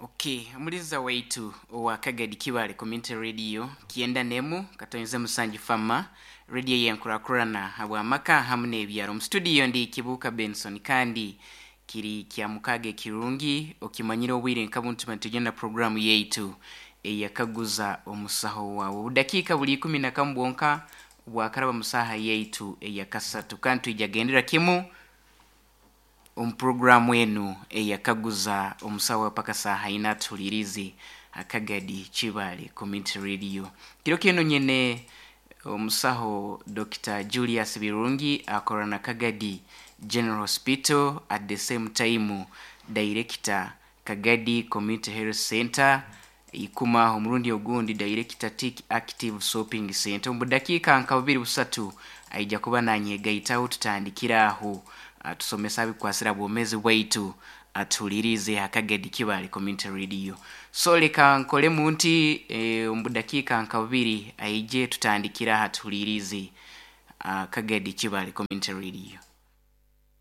Okay, omuliza waitu owa Kagadi Kibale Community Radio 97.7 Fama radio yenkurakurana habw'amaka hamu n'ebyaro. Mu studio ndi Kibuuka Benson, kandi kiri kya mukaaga ekirungi okimanyire obwire nka buntu tugenda programu yaitu eyakaguza omusaho wawe. Obudakiika buli 11 bwonka bwakaraba mu saaha yaitu eyakasatu, kandi twija gendera kimu omu programu enu eyakaguza omusaho wawe paka saaha ina. Tuhulirize Akagadi Kibale Community Radio. Kiro kinu nyine omusaho Dr. Julius Birungi, akora na Kagadi General Hospital, at the same time director Kagadi Community Health Center, ikuma omurundi ogundi director Tik Active Shopping Center. Omu budakiika nka bubiri busatu aija kuba nanyegaitaho, tutandikira aho atusomesa abikwasira bwomezi bwaitu. Atuhulirize Akagadi Kibale Community Radio. So leka nkolemu nti omu budakiika nka bubiri aije tutandikira aha. Tuhulirize Kagadi Kibale Community Radio.